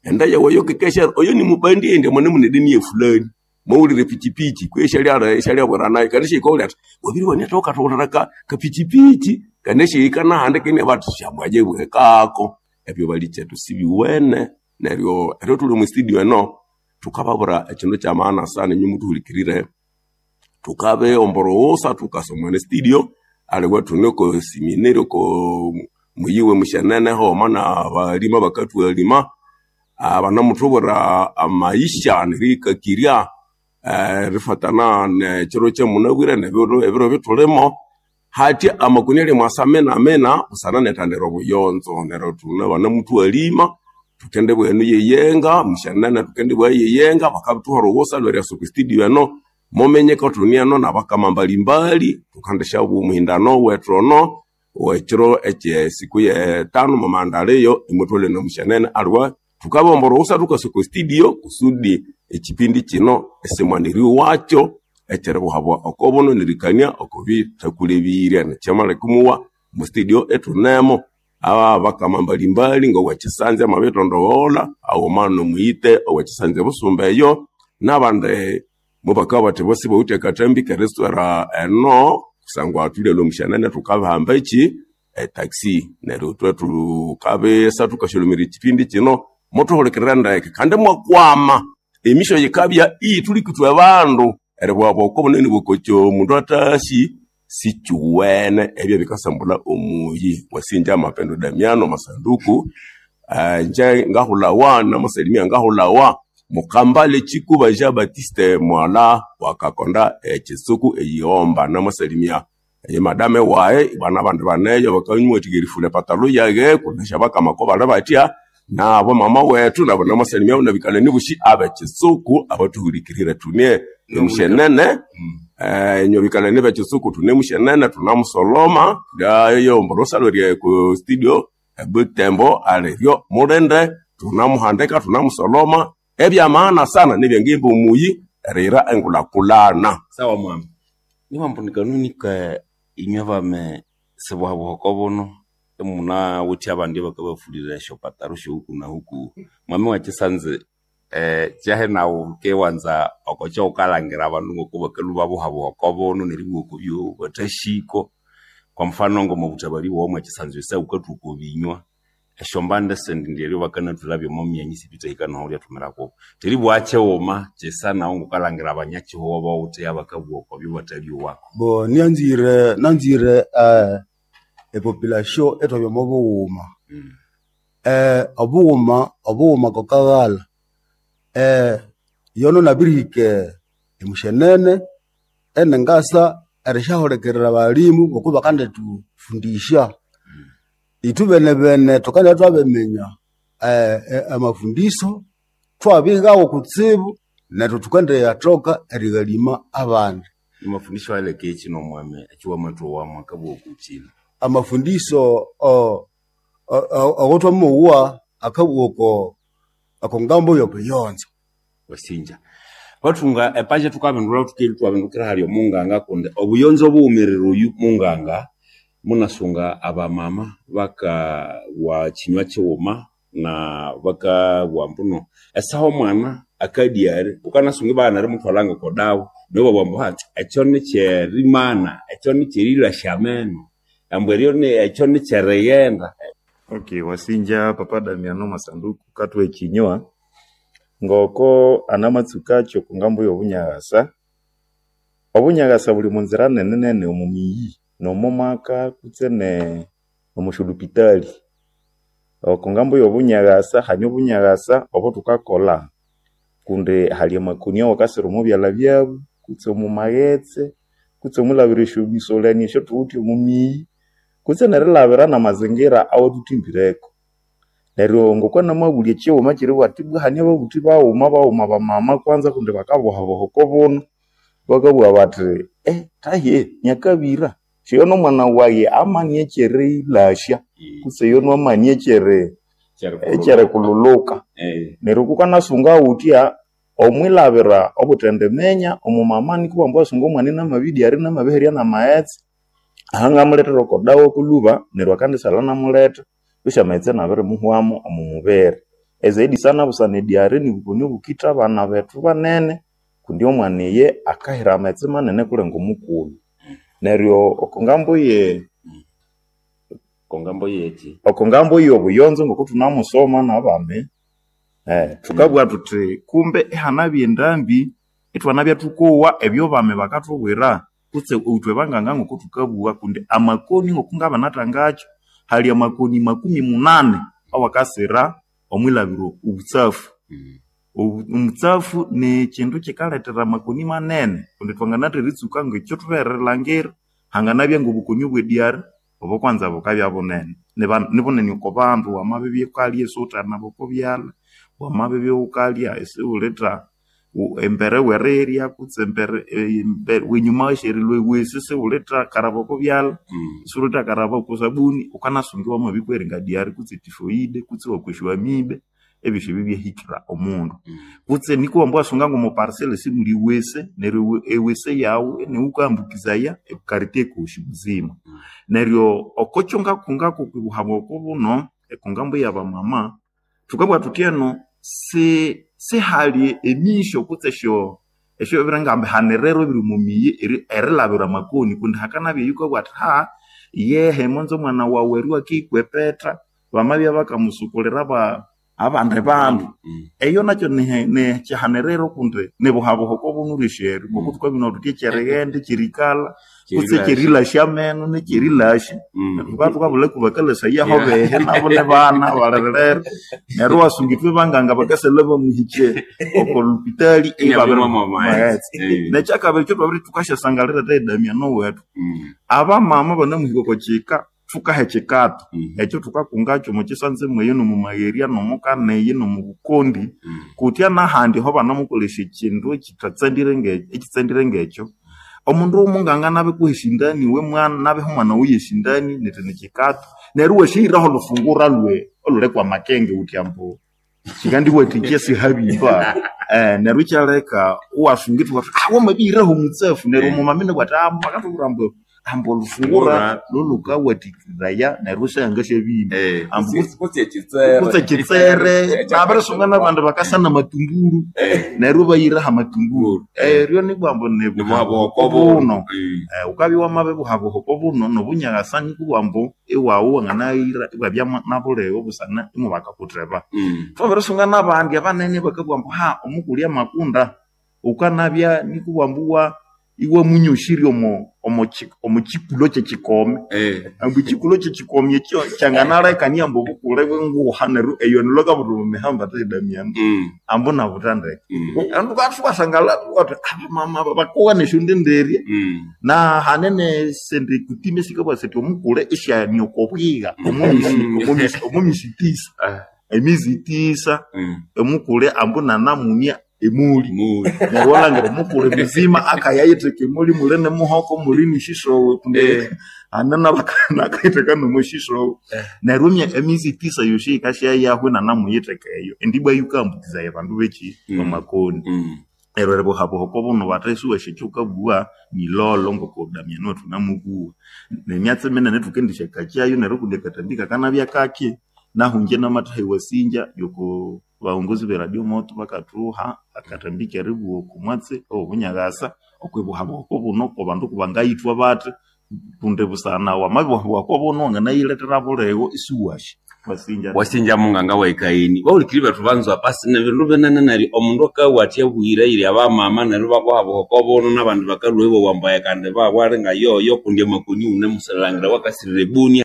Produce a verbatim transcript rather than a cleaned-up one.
Enda yawe eyo kekesha oyo nimubandi indi mune mune dini ye fulani. Mwawulire pichipichi kwihi isyalyala isyalyabwira nayo kandi isyahika athi wabiriwana wukathughulira ka kapichipichi kandi isyahika nahandi kandi inabugha athi syamwaye bwekako. Ebyo balikyetu sibiwene neryo eryo thuli omo studio eno thukababwira ekyindu kya maana sana inywe muthuhulikirire thukabiyomba orughutsa thukasa omwa studio aliwe thune oko seminary oko muyi we musyenene haghuma nabalima abakathwalima aa banamuthubwira amaisha neriyikakirya erifatana nekyiro kyamunabwire nebiro ebiro ebyathulimo hathya amakoni alyamwasa minamina busana nerithendera obuyonzo neryo thune banamuthwalima thukendibugha eno yeyenga musyenene thukendibugha yeyenga bakabithuha orughutsa olweryasa okwa studio eno muminyeko thune eno nabakama mbalimbali thukendisyabugha omuhindano wethu ono owekiro ekyesiku yetanu mwamaghendalhiyo imwathwalha eno musyenene aliwe thukabomba orughutsa thukasa okwa studio kusudi ekyipindi kino isimwana eryoghakyo ekyeribuhabwa okobuno nerikania okobithakulebirye nekyamaleka imowa omo studio ithunemo abakama mbalimbali ngowekyisanzi amabithondogholha haghuma nomuyite owekyisanzi ebusumba eyo nabandi mubakabugha bathi bo sibawithe akathambi keritswera eno kusangwa thulhyalhwa musyenene thukabihamba ekyi etaxi neryo ithwe thukabisa thukasyalumirya ekyipindi kino muthuhulikirire ndeke kandi imwakwama emisyo yikabya iyithuliko ithwe bandu eribughabugha oko bunene bwokokyo omundu athasi sikyuwene ebyo bikasambulha omuyi wasinja Mapendo Damiano Masanduku eh, nje ngahulhawa namasalimia ngahulhawa Mukambale Chikuba Jean Baptiste Mwala wakakonda ekitsuku eyighomba namasalimia ye madame waye bana abandi baneyo bakanyimwathika erifula epatalo yage kunesha bakama ko bali batya nabo mama wethu nabo namasalimia nabikalani bushi abekitsuku abathuhulikirire thune emushenene eh inyo bikalani bekitsuku thune mushenene thunamusoloma lyayo mborosalo rye ku studio ebutembo aliryo mulinde thunamuhandika thunamusoloma ebyamaana sana nebyangimba omuyi eriyira engulhakulhana Sawa mwami. Niwambu kanuni ka inywe bame sibuhabuha okobuno imunawithe abandi abakabafulira esyopataro syohuku na huku mwami wakisanze eh kyahe nawu kewanza okokyo wukalhangira abandu ngoko bakalhwa babuhabuha okobuno neribugha okobyo bathahiko kwa mfano ngomobuthabali bwawu mwakisanze esa wukathuka okobinywa esyombande esindi ndyeryo bakanathulhabya omo myanya isibithahika noho lyathumirako teribugha kyighuma kyisa nawu ngokalhangira abanyakyihugho bawuthe abakabugha okobyo bathalyowako Bo nyanzire nanzire eh, epopulation ethwabya omo bughuma mm. eh, obughuma obughuma kokaghalha eh, yono nabirihika emushenene enengasa erisyahulikirira abalimu ngoku bakandithufundisya ithwe benebene thukandibya thwabiminya eh, eh, amafundiso thwabighawo kutsibu nethu thukendiyathoka erighalima abandi Mafundisho aleke kino mwami ekiwamathowamu akabugha okukyina amafundiso o- o- o- awotwamowa akabugha oko oko ngambo yobuyonzo wasinja bathunga epaja thukabindulha thukeli thwabindukira hali omunganga kundi obuyonzo obuwumirire oyu munganga munasunga abamama bakawa kinywa kighuma na bakabugha mbuno esaha omwana akadyari wukanasunga ibaghana erimuthwalha ngoko dawa neryo ibabugha ambu ha ekyo nikyerimana ekyo nikyerilasya ameno ambu eryo ni- ekyo nikyerighenda Okay, wasinja papa Damiano Masanduku kathuha ekinywa ngoko anamatsukakyo okungambo y'obunyaghasa obunyaghasa buli omunzira nene nene omu miyi nomo maka kutse ne omusyolupitali okungambo y'obunyaghasa hane obunyaghasa obuthukakolha kundi hali amakoni awakasira omo byalha byabu kutse omu maghetse kutse omwilhabira esyomisolani esyathuwithe omu miyi kutse nerilhabira namazingira awathuthimbireko neryo ngokwanamabulya ekighuma kyeribugha athi ibwa hane ababuthi baghuma baghuma bamama kwanza kundi bakabuhabuha okobuno bakabugha bathi eh tahiye nyakabira siyono omwana wayi amani ekyerilasya kutse yono amani ekyeri ekyerikululuka neryo kukanasunga wutya omwilhabira obuthendiminya omumama nikubugha ambu asunga omwana inamabidyari inamabiherya namaghetse ahangamulethera oko dawa kulhuba neryo akandisalha inamuletha kwisi amaghetse inabirimuhwamu omu mubiri Ezaidi sana busana ediare nibukoni obukitha abana bethu banene kundi omwana iye akahira amaghetse manene kulenga omukulhu. Neryo oko ngambo ye Kongambo yeki oko ngambo y'obuyonzo ngoko thunamusoma nabami eh, thukabugha thuthi kumbe ihanabya endambi ithwanabya thukowa ebyobami bakathubwira kutse ithwe banganga ngoko thukabugha kundi amakoni ngoko ngabanathangakyo hali amakoni makumi munani awakasira omwilhabiro obutsafu. Obu- Omutsafu ni kindu kikalethera amakoni manene kundi twanganatha eritsuka ngekyo thutholere hanganabya ngobukoni obwediare obo kwanza bukabya bunene Niba- nibunene oko bandu wamabibya wukalya isiwuthanaba oko byalha wamabibya wukalya isiwulitha wu- embere werirya kutse embere embere wenyuma wesyerilwa ewesi isiwulitha karaba oko byalha isiwulitha karaba oko sabuni wukanasunga iwamabikweringa diare kutse tifoide kutse iwakwesya amibe ebyosi ebyo byahikira omundu kutse nikwa wamba wasunga ngomo parcela simuli wese neryo ewese yawu iniwukambukizaya ekartie kosi muzima neryo okokyo ngakungako kwibuhaba oko buno ekungambo yabamama thukabugha thuthi eno si sihali emisyo kutse esyo esyo biringambihaniriro ebiri omu miyi eri- erilhabira amakoni kundi hakanabya eyikabugha athi ha yehe monze omwana wawu eri wakikwepetha bamabya bakamusukulira aba abandi bandu eyo nakyo nihe- nikyihaniriro kundi nibuhabuha oko bunurwe esyeri ngoko thukabina thuthi ekyerighenda ekyerikalha kutse ekyerilasya ameno nekyerilasya thuka thukabulha kubakalasaya aho behe nabo nibana balirerera neryo iwasunga ithwe banganga bakasalha bamuhikye oko lupitali maghetse nekyakabiri ekyo thukasyasangalira Damiano wethu abamama banamuhika oko kika thukaha ekikato ekyo thukakungakyo omu kisanze mweyo nomu magheriya nomukaneyi nomubukondi kutya nahandi aho banamukolesya ekindu ekithatsandire nge- ekitsandire ngekyo omundu munganga nabikuha esindani iwe mwana nabiha omwana wiwe esindani nethi nikikato neryo iwasyahiraho olhufungura lwe olhuli kwa makenge wuthi ambu kikandiwathikya sihabimba eh, neryo ikyaleka iwasunga ithwa ah wamabihiraho omutsafu neryo omumama inabugha athi ah bakathubwira ambu ambu olhufungura lhulhukawathikiraya neryo isyangasyabimba ambu kutse ekitsere kutse kitsere nabirisunga nabandi bakasa namatunguru neryo bayiraho amatunguru eryo nibwambu nibuhabuha buno Eh, wukabya wamabibuhabuha oko buno nobunyakasa nikubugha ambu iwawu wanganayira iwabya nabuligho busana imubakakutheba thwabirisunga nabandi abanene bakabugha ambu ha omukulya amakunda wukanabya nikubugha ambu iwa iwamunyosirya omo omo ki- omo kikulo kyekikome ambu ekikulo kyekikomi ekyo kyanganalekania ambu obukule bwenguha neryo eyo nilwakabutha omu mihamba ate Damiano ambu nabutha ndeke andu thukasangala thukathi abamama aba bakowa nesyondenderya na hanene sindi kutime sikabugha sithi omukule isyanioka obwiga omu misi- omu misi tisa emizi tisa omukule ambu nanamunia emuli neryo walhangira omukule muzima akayayitheka emuli muli nemuhoko muli neshisowe kundi hane nakayitheka nomushisowe neryo emya- emizi tisa yosi yikasyayahu inanamuyitheka eyo indi ibwa yikambukizaya abandu beki bamakoni neryo eribuhabuha oko buno bathesiwasya ekyukabugha nilolo ngoko Damiano wethu namubuwa nemyatsi minene thukendisyakakyayo neryo kundi akatambi kakanabya kaki nahungye namathaha ewasinja yoko baongozi be radio moto bakathuha akatambi keribuwa oko mwatsi owobunyakasa okwibuhabuha oko buno abandu kubangayithwa bathi kundi busana wamabibuhabuha oko buno wanganayilethera buligho isiwasya wasinja wasinja munganga waikaini baulikiri bethu banzwa pasi nebindu binene neryo omundu akawa athi abwire iri abamama neryo babuhabuha oko buno nabandi bakalhwa ibowa ambu kandi babwali nga yoyo kundi amakoni wune musalhangira wakasirira ebunia.